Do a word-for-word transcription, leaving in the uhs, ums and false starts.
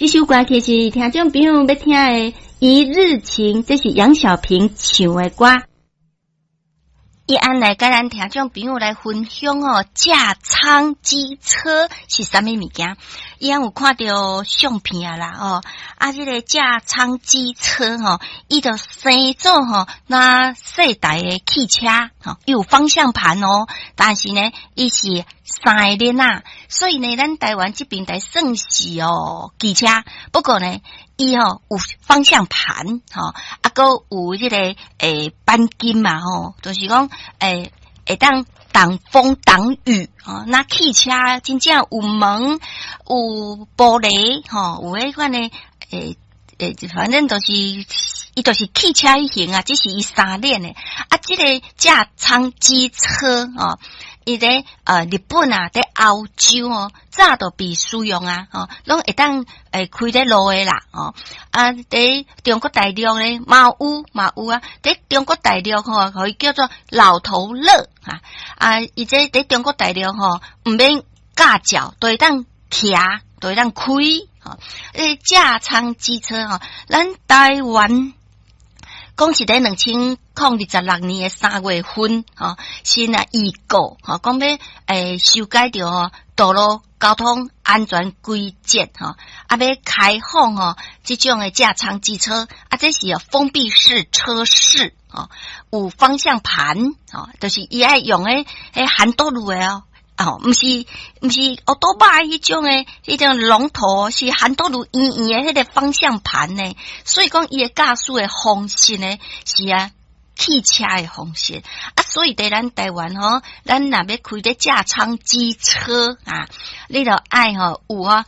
這首歌曲是聽眾朋友欲聽的《一日情》，這是楊小萍唱的歌。伊按來共咱聽眾朋友來分享哦，駕艙機車是啥物物件？伊按有看著相片啊啦哦，啊，這個駕艙機車吼，伊就生做吼若細台的汽車吼，伊有方向盤哦，但是呢，伊是三个輪仔，所以呢，咱台灣這邊台算是哦機車，不過呢，伊吼有方向盤吼，啊，閣有這個欸鈑金嘛吼，就是講欸會當擋風擋雨吼。若汽車真正有門有玻璃吼，有彼款的欸欸，反正就是伊就是汽車彼型啊，只是伊三輪的啊，這個駕艙機車吼。伊佇呃日本啊，佇歐洲哦，早就被使用啊，吼，攏會當會開佇路的啦，吼。啊，佇中國大陸咧，嘛有嘛有啊，佇中國大陸吼，予伊叫做老頭樂啊，啊，伊這佇中國大陸吼，毋免駕照，都會當騎，都會當開，吼。欸，駕艙機車吼，咱台灣。講是佇兩千零二十六年的三月份，吼，先啊預告，吼，講欲欸修改著吼道路交通安全規則，吼，啊欲開放吼這種的駕艙機車，啊，這是封閉式車室，吼，有方向盤，吼，就是伊愛用的彼ハンドル的哦。哦，毋是毋是歐多巴彼種的，彼種龍頭是ハンドル圓圓的彼個方向盤呢。所以講伊的駕駛的方式呢，是啊汽車的方式啊。所以佇咱台灣吼，咱若欲開這駕艙機車啊，你著愛吼有啊。